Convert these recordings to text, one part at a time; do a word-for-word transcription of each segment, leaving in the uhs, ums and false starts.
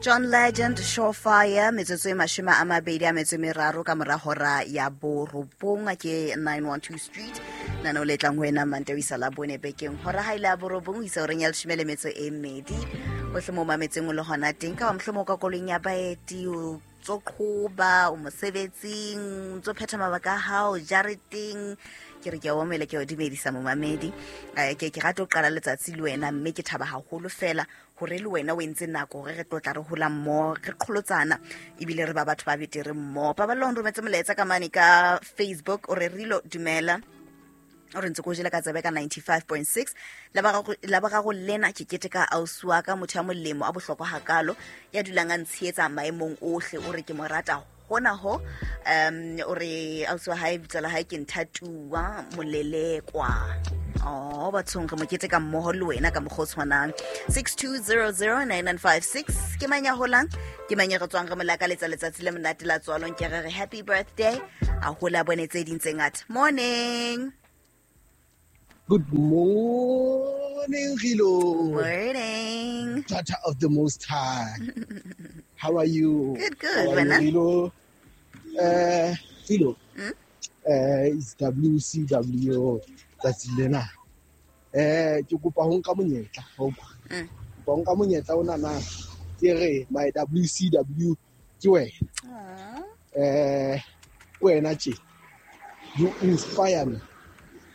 John Legend, Surefire. Metsotso e mashome a mabedi a metso e meraro ka mora hora ya borobong, ke nine one two Street. Nano le tlang ho wena Mantaha ho isa la bone bekeng. Hora ha ile ya borobong ho isa horeng ya leshome le metso e mmedi. Hohle mo mametseng o le hona teng, ka ba mohlomong ka koloing ya baeti, o tso qhoba, o mosebetsing, o tso phetha mabaka a hao jareteng. Ke re ke a o omela, ke a o dumedisa momamedi. Eh, ke ke rata ho qala letsatsi le wena, mme ke thaba haholo fela hore le wena o entse nako hore re tlo tla re hola mmoho, re qholotsana, ebile re ba batho ba betere mmoho. Paballo o nrometse molaetsa ka mane ka Facebook, o re Rilo dumela, o re ntse ko jele ka tsebe ka ninety-five point six. La boraro, la boraro lena ke keteka ausi wa ka, motho ya molemo a bohlokwa hakalo, ya dulang a ntshehetsa maemong ohle, o re ke mo rata hona ho. Um, o re ausi wa hae, bitso la hae ke Nthatuwa Molelekwa. Oh, bathong re mo keteka mmoho le wena ka mokgwa o tshwanang. six two zero zero nine nine five six. Ke mang ya holang? Ke mang ya re tswang re mo lakaletsa letsatsi le monate la tswalong? Ke re re happy birthday. A hola bone tse ding tse ngata. Morning. Good morning, Rilo. Morning. Daughter of the Most High. How are you? Good, good. How are you, Wena? Rilo? Uh, Rilo. Hmm? Uh, it's W C W. Tsatsi lena. Eh, ke kopa ho nka monyetla, ho utlwa. Mm. Kopa ho nka monyetla ona na ke re my W C W ke wena. Aw. Eh, wena tje. You inspire me.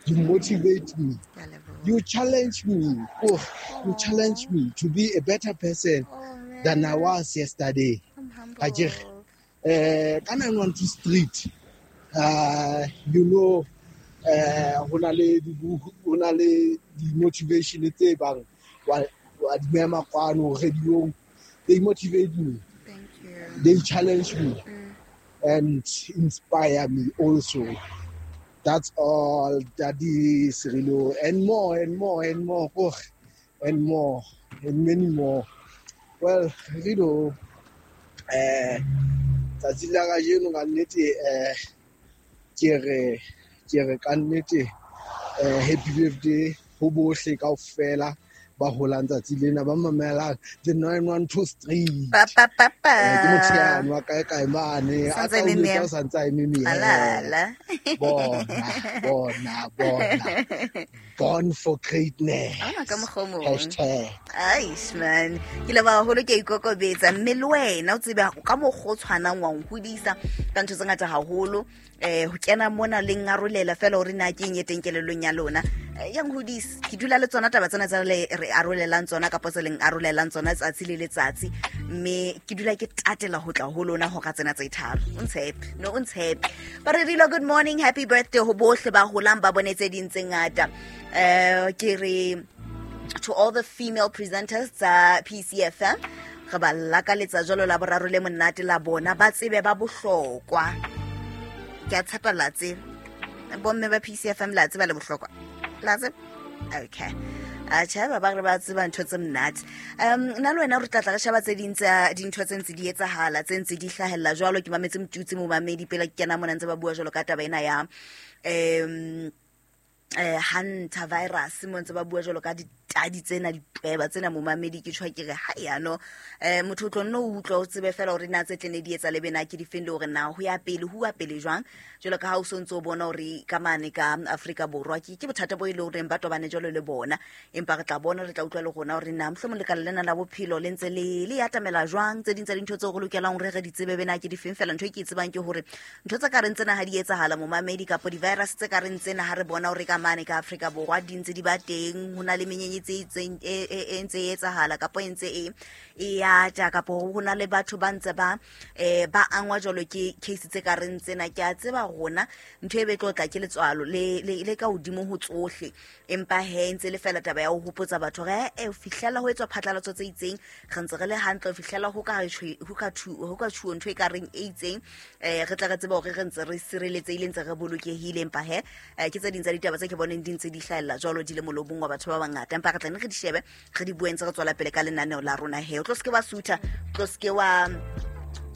You motivate me. Ke a leboha. You challenge me. Oh, you challenge me to be a better person Oh, than I man. was yesterday. I'm humble. Akere. Eh, ka nine one two Street. Uh, you know, eh, ho na le di ho na le di motivation tse bang wa, wa di mema kwano radio. They motivate me. Thank you. They challenge me. Mm. And inspire me also. That's all, Daddy Sirilo, and more, and more, and more, oh, and more, and many more. Well, Rilo, eh, tsatsi la kajeno ka nnete, eh, ke re, ke re ka nnete, eh, happy birthday ho bohle kaofela ba holang tsatsi lena, ba mamelang the nine one two Street. Pa, pa, pa, pa. Eh, ke motho yane wa kae kae mane, a Santse tla eme o letsa mme. o santse a eme mme. Alala. Bona, bona, bona. Born for greatness. Ona ka mokgwa o mong. Hashtag. Aish, man. Ke leboha haholo, ke a ikokobetsa. Mme le wena o tsebe ka mokgwa o tshwanang wa nhodisa ka ntho tse ngata haholo. Eh, ho kena mona le nkarolela fela hore na ke eng e teng kelellong ya lona. Eh, ya nhodisa. Ke dula le tsona taba tsena tsa le re arolelang tsona kapa tse leng arolelang tsona tsatsi le letsatsi. Mme ke dula ke tatela ho tla ho lona hora tsena tse tharo. O ntshepe, no o ntshepe. Ba re Rilo, good morning, happy birthday ho bohle ba holang ba bone tse ding tse ngata. Eh, ke re to all the female presenters tsa P C F M, re ba lakaletsa jwalo la boraro le monate la bona, ba tsebe ba bohlokwa. Ke a tshepa la tseba. Bomme ba P C F M la tseba le bohlokwa. La tseba? Okay. Atjhe, ba ba re ba tseba ntho tse monate. Um, nna le wena re tla tla re sheba tse ding tsa dintho tse ntse di etsahala, tse ntse di hlahella jwalo. Ke mametse Motutsi momamedi pele ke kena mona ntse ba bua jwalo ka taba ena ya, um, eh, Hunter virus, mo ntse ba bua jwalo ka ditadi tsena, ditweba tsena momamedi. Ke tjho ke re ha ya no, eh, motho o tlo nno o utlwa o tsebe fela hore na tse tlene di etsa le bena ke difeng, le hore na ho ya pele, ho ya pele jwang. Jwalo ka ha o so ntso o bona hore ka mane ka Afrika Borwa ke, ke bothata bo e leng horeng ba tobane jwalo le bona, empa re tla bona, re tla utlwa le rona hore na mohlomong lekala lena la bophelo le ntse le, le atamela jwang. Tse ding tsa dintho tseo re lokelang hore re di tsebe bena ke difeng. Fela ntho e ke e tsebang ke hore ntho tse ka reng tsena ha di etsahala momamedi, kapa di-virus tse ka reng tsena ha re bona hore ka mane ka Afrika Borwa di ntse di ba teng, ho na le menyenyetsi e itseng, e, e, e ntse e etsahala kapa e ntse e, e ata, kapa ho na le batho ba ntse ba, eh, ba angwa jwalo ke case tse ka reng tsena. Ke a tseba rona ntho e be tlo tla ke letswalo le, le, le ka hodimo ho tsohle, empa he ntse le fela taba ya ho hopotsa batho hore, eh, ho fihlela ho etswa phatlalatso tse itseng, re ntse re le hantle ho fihlela ho ka tjhe, ho ka thu-, ho ka tjhuo ntho e ka reng e itseng, eh, re tla re tseba hore re ntse re sireletsehile, ntse re bolokehile. Empa he, eh, ke tse ding tsa ditaba tse ke boneng di ntse di hlahella jwalo di le molomong wa batho ba bangata, empa re tla nne re di shebe, re di bue ntse re tswela pele ka lenaneo la rona. He, o tlo se ke wa sutha, o tlo se ke wa,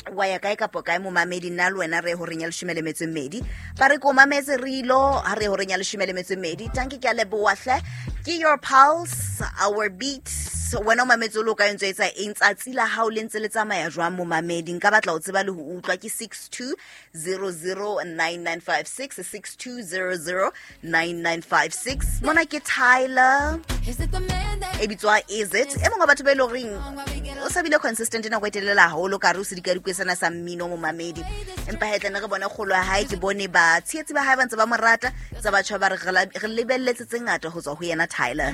wa ya kae kapa kae momamedi. Nna le wena re horeng ya leshome le metso e mmedi. Ba re ko mametse Rilo ha re horeng ya leshome le metso e mmedi. Tanki, ke a leboha hle. Ke your pulse, our beat, Wena o mametse o le o ka ntse etsa eng? Tsatsi la hao le ntse le tsamaya jwang, momamedi? Nka batla ho tseba le ho utlwa. Ke six two zero zero nine nine five six, six two zero zero nine nine five six. Mona ke Tyler, e bitswa Is It. E mongwe wa batho ba e leng horeng o sa bile consistent nako e telele haholo ka re o sedikadikwe sena sa mmino, momamedi. Empa he tlane re bone kgolo ya hae, ke bone batshehetsi ba hae ba ntse ba mo rata, tsa batjha ba re re lebelletse tse ngata ho tswa ho yena Tyler.